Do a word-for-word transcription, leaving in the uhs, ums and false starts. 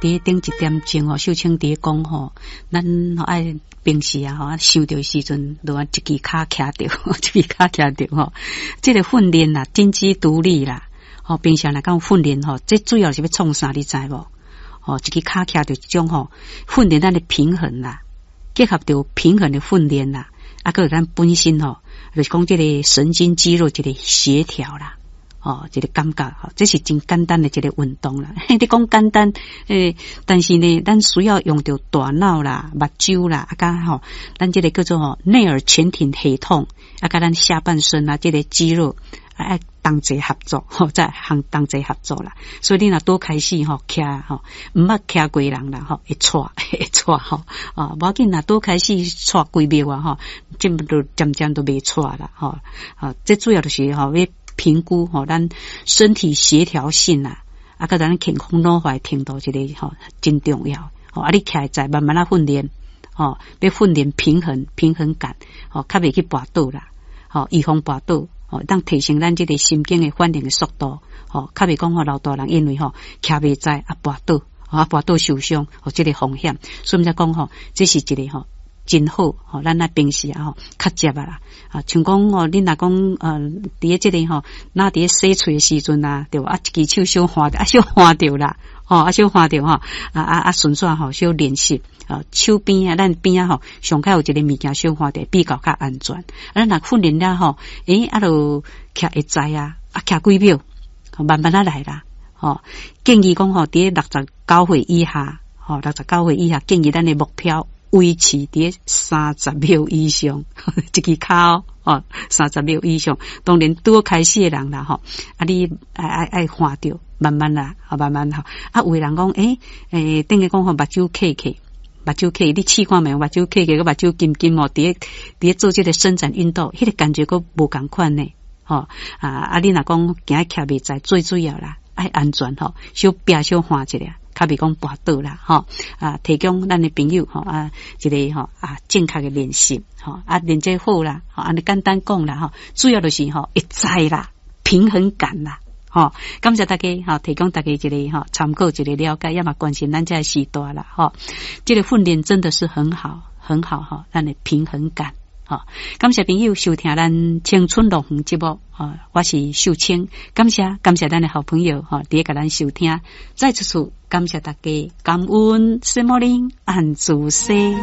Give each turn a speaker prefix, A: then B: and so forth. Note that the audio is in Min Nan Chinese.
A: 佇頂一點鐘吼，秀清佇咧講吼，咱愛平時啊吼，想著時陣，就按一支跤徛著，一支跤徛著吼。這個訓練啦，整肌獨立啦，吼，平常來講訓練吼，這主要是欲創啥，你知無？吼，一支跤徛著這種吼，訓練咱的平衡啦，結合著平衡的訓練啦，啊，閣有咱本身吼，就是講這個神經肌肉一個協調啦。哦，這個感覺吼，這是真簡單的一個運動啦。你講簡單，欸，但是呢，咱需要用著大腦啦、目睭啦，啊，佮吼，咱這個叫做吼內耳前庭系統，啊，佮咱下半身啊，這個肌肉愛同齊合作，吼，才通同齊合作啦。所以你若拄開始吼，徛吼，毋捌徛過人啦，吼，會掣會掣吼，啊，無要緊，若拄開始掣幾秒啊，吼，這就漸漸都袂掣啦，吼，啊，這主要就是吼欲評估吼，咱身體協調性啊，啊，佮咱健康老化程度這個吼真重要。吼，啊，你徛會慢慢仔訓練，吼，欲訓練平衡平衡感，吼，較袂去跋倒啦，吼，預防跋倒，吼，當提升咱這個神經的反應的速度，吼，較袂講吼老大人因為吼徛袂在啊跋倒，啊跋倒受傷，吼，這個風險，所以才講吼，這是一個吼真好，吼，咱若平時啊吼較捷啊啦，啊，像講吼，恁若講呃，佇咧這個吼，若佇咧洗喙的時陣啊，對無啊，一支手小橫著，啊小橫著啦，吼，啊小橫著吼，啊啊啊順紲吼小練習，啊手邊啊，咱邊仔吼上較有一個物件小橫著，比較較安全。啊，咱若訓練了吼，欸，啊就徛會在啊，啊徛幾秒，慢慢仔來啦，吼，建議講吼，佇咧六十九歲以下，吼，六十九歲以下建議咱的目標維持佇咧三十秒以上，一支跤哦，三十秒以上。當然拄開始的人啦，吼，啊你愛愛愛看著，慢慢啦，慢慢吼。啊，有的人講，欸欸，等於講吼，目睭瞌瞌，目睭瞌，你試看覓？目睭瞌瞌，佮目睭金金哦，佇咧佇咧做這個伸展運動，彼個感覺閣無仝款呢，吼啊啊！你若講驚徛袂在，最主要啦，愛安全吼，小拚小橫一下。較袂講跋倒啦，吼啊！提供咱的朋友吼啊，一個吼啊正確的練習吼啊，練這好啦，吼按呢簡單講啦，吼主要就是吼會知啦，平衡感啦，吼感謝大家吼，提供大家一個吼參考一個了解，也嘛關心咱這個時代啦，吼這個訓練真的是很好，很好吼，咱的平衡感。吼，感謝朋友收聽咱青春樂園節目，吼，我是秀清，感謝感謝咱的好朋友，吼，佇咧共咱收聽，再次次感謝大家，感恩聖母林安主西。